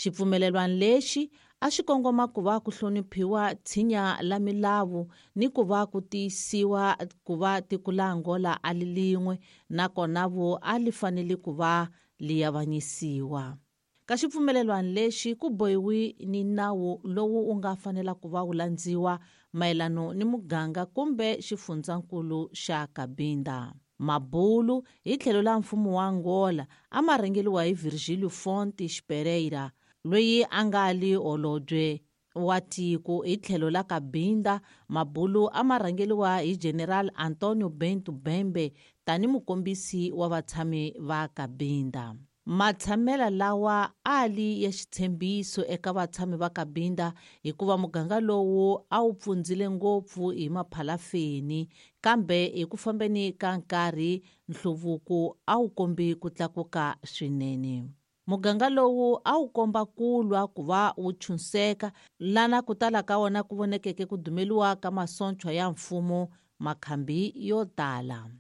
Xipfumelelwano lexi a xi kongoma ku va ku hloniphiwa tshinya la milawu ni ku va ku tiyisiwa ku va tiko la Angola a li lin'we nakona vo a li fanele ku va li avanyisiwa. Ka xipfumelelwano lexi ku bohiwi ni nawu lowu wu nga fanela ku va wu landziwa mayelano ni muganga kumbe xifundzankulu xa Cabinda. Mabulu hi tlhelo la mfumo wa Angola a ma rhangeriwa hi Virgílio Fontes Pereira, loyi a nga li holobye wa tiko. Hi tlhelo la Cabinda, mabulu a ma rhangeriwa hi General Antonio Bento Bembe tani mukombisi wa vatshami va Cabinda. Matshamela lawa a li ya xitshembiso eka vatshami va Cabinda hikuva muganga lowu a wu pfundzile ngopfu hi maphalafeni, kambe hi ku fambeni ka nkarhi nhluvuko a wu kombi ku tlakuka swinene. Muganga lowu a wu komba ku lwa ku va wu chunseka, lana ku tala ka wona ku vonekeke ku dumeliwa ka masontshwa ya mfumo makhambi yo tala.